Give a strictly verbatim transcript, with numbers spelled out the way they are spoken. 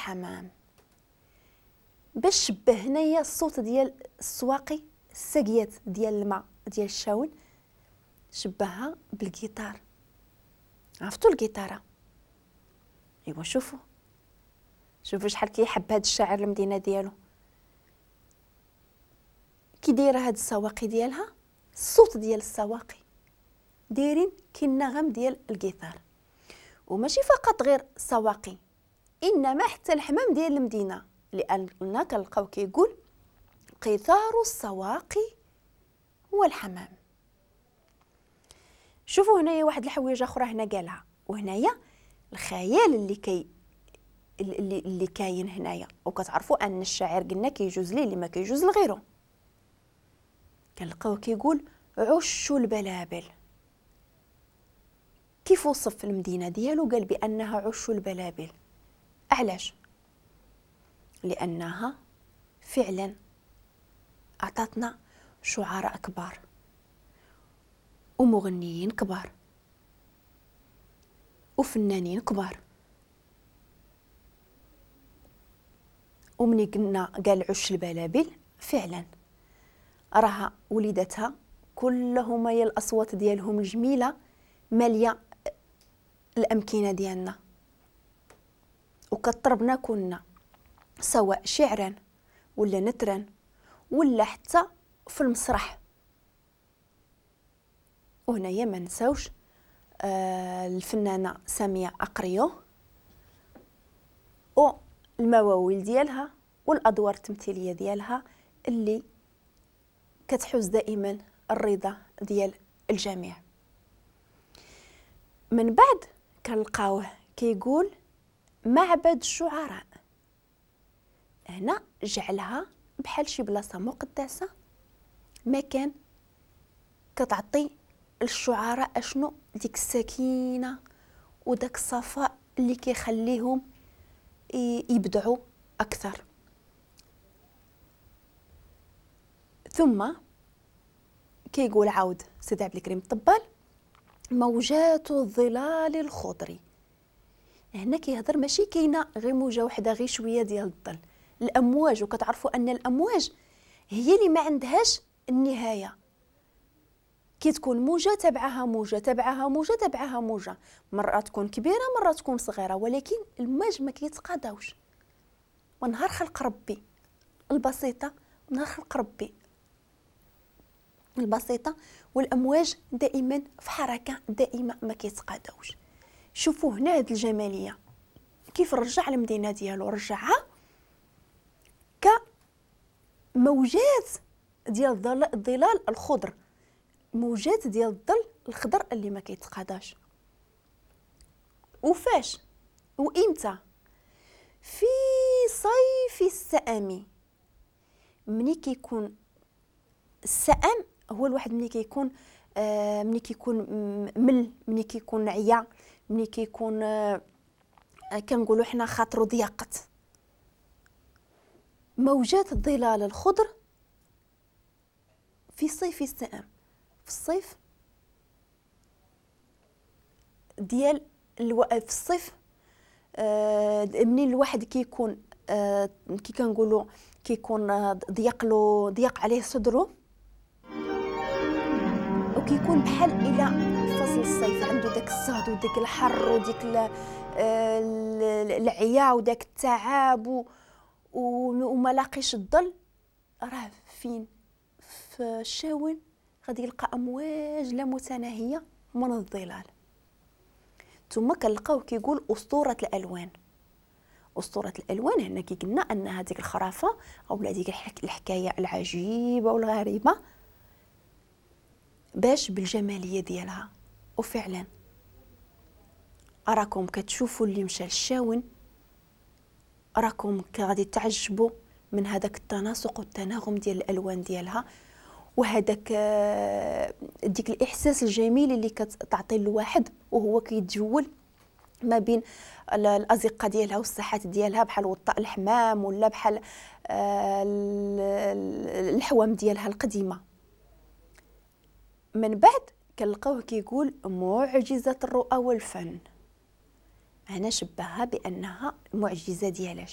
الحمام. باش شبه هنايا الصوت ديال السواقي، الساقيات ديال الماء ديال الشاون، شبهها بالجيتار. عرفتوا الجيتاره؟ ايوا شوفوا شوفوا شحال كيحب هاد الشاعر المدينة ديالو، كي دايرة هاد السواقي ديالها، الصوت ديال السواقي دايرين كي النغم ديال الجيتار. وماشي فقط غير السواقي، انما حتى الحمام ديال المدينة، لان كنلقاو كيقول قيثار السواقي والحمام. شوفوا هنايا واحد الحويجه اخرى هنا قالها، وهنايا الخيال اللي كي اللي اللي كاين هنايا، وكتعرفوا ان الشاعر قلنا كيجوز ليه اللي ما كيجوز لغيره. كنلقاو كيقول عش البلابل. كيف وصف المدينة ديالو؟ قال بانها عش البلابل. علاش؟ لانها فعلا اعطتنا شعراء كبار ومغنيين كبار وفنانين كبار. ومني قلنا قال عش البلابل، فعلا راها وليدتها كلهم هي الاصوات ديالهم الجميلة ماليه الامكنة ديالنا، وكطربنا كنا سواء شعرا ولا نثرا ولا حتى في المسرح. وهنايا ما نساوش آه الفنانة سامية اقريو والمواويل ديالها والادوار التمثيلية ديالها اللي كتحوز دائما الرضا ديال الجميع. من بعد كنلقاوه كيقول معبد الشعراء. هنا جعلها بحال شي بلاصة مقدسة، مكان كتعطي الشعراء اشنو ديك السكينة وداك الصفاء اللي كيخليهم يبدعوا اكثر. ثم كيقول عاود سيدي عبد الكريم الطبال موجات الظلال الخضر. هنا كيهضر ماشي كاينه غير موجه وحده، غير شوية ديال الظل، الامواج. وكتعرفوا ان الامواج هي اللي ما عندهاش النهاية، كي تكون موجه تبعها موجه تبعها موجه تبعها موجه، مرة تكون كبيرة مرة تكون صغيرة، ولكن الموج ما كيتقاداوش. ونهار خلق ربي البسيطة، نهار خلق ربي البسيطة، والامواج دائما في حركة دائمة ما كيتقاداوش. شوفوا هنا هاد الجمالية كيف رجع المدينة ديالو، رجعها كموجات ديال الظلال الخضر، موجات ديال الظل الخضر اللي ما كيتقاداش. وفاش وامتى؟ في صيف السأم. ملي كيكون السأم هو الواحد ملي كيكون آه ملي كيكون مل، ملي كيكون عيا، ملي كيكون آه كنقولوا حنا خاطرو ضيقت. موجات الظلال الخضر في صيف السأم، في الصيف ديال الو... في الصيف آه منين الواحد كيكون آه كي كنقولوا كيكون ضيق له، ضيق عليه صدره، وكيكون بحال الى فصل الصيف عنده داك الصهد وداك الحر وديك العيا وداك التعب وما لاقيش الظل. راه فين؟ في الشاون غادي يلقى امواج لا متناهية من الظلال. ثم كنلقاو كيقول اسطورة الالوان. اسطورة الالوان هنا كي قلنا ان هذيك الخرافة او هذيك الحكاية العجيبة والغريبة باش بالجماليه ديالها. وفعلا اراكم كتشوفوا اللي مشى للشاون، راكم غادي تعجبوا من هذاك التناسق والتناغم ديال الالوان ديالها، وهذاك ديك الاحساس الجميل اللي كتعطي الواحد وهو كيتجول ما بين الازقه ديالها والساحات ديالها، بحال وطاء الحمام ولا بحال الحوام ديالها القديمة. من بعد كنلقاوه كيقول معجزه الرؤى والفن. هنا شبهها بانها معجزه ديالاش؟